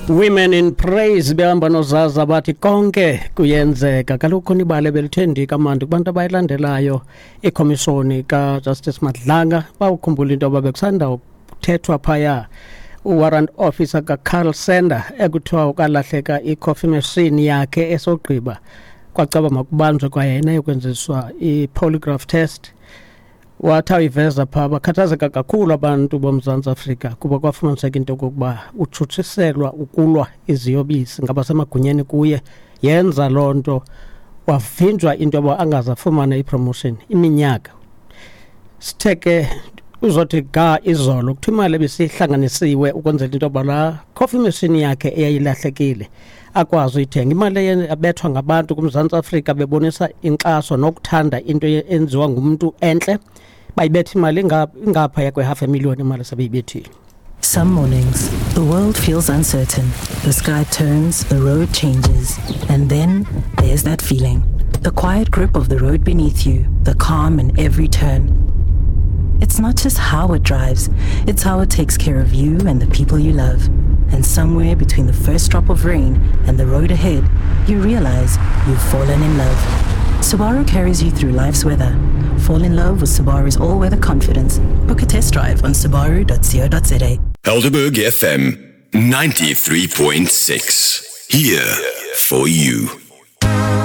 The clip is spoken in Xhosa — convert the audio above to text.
Women in Praise behamba nozaza bathi konke kuyenzeka. Kaloku khona ibali ebelithe kamandi kubantu abayilandelayo ikhomishoni kaJustice Madlanga. Bawukhumbula into yoba bekusanda kuthethwa phaya uwarrant officer kaCarl Sender ekuthiwa ukalahleka i-coffee machine yakhe, esogqiba kwacaba makubanjwe kwayena yokwenziswa i-polygraph test. Wathi awuyiveza phaa, bakhathazeka kakhulu abantu boMzantsi Afrika kuba kwafumaniseka into yokokuba utshutshiselwa ukulwa iziyobisi ngabasemagunyeni kuye. Yenza loo nto wavinjwa into yoba angaze afumane ipromotion iminyaka. Sithe ke uzothi ga izolo kuthiwa imali ebisihlanganisiwe ukwenzela into yoba laa coffee machine yakhe eyayilahlekile akwazi uyithenga, imali abethwa ngabantu kuMzantsi Afrika bebonisa inkxaso nokuthanda into enziwa ngumntu entle, bayibetha imali ingaphaya kwe-half a million, imali sebeyibethile. Some mornings, the world feels uncertain. The sky turns, the road changes, and then there's that feeling. The quiet grip of the road beneath you, the calm in every turn. It's not just how it drives, it's how it takes care of you and the people you love. And somewhere between the first drop of rain and the road ahead, you realize you've fallen in love. Subaru carries you through life's weather. Fall in love with Subaru's all-weather confidence. Book a test drive on subaru.co.za. Helderberg FM 93.6. Here for you.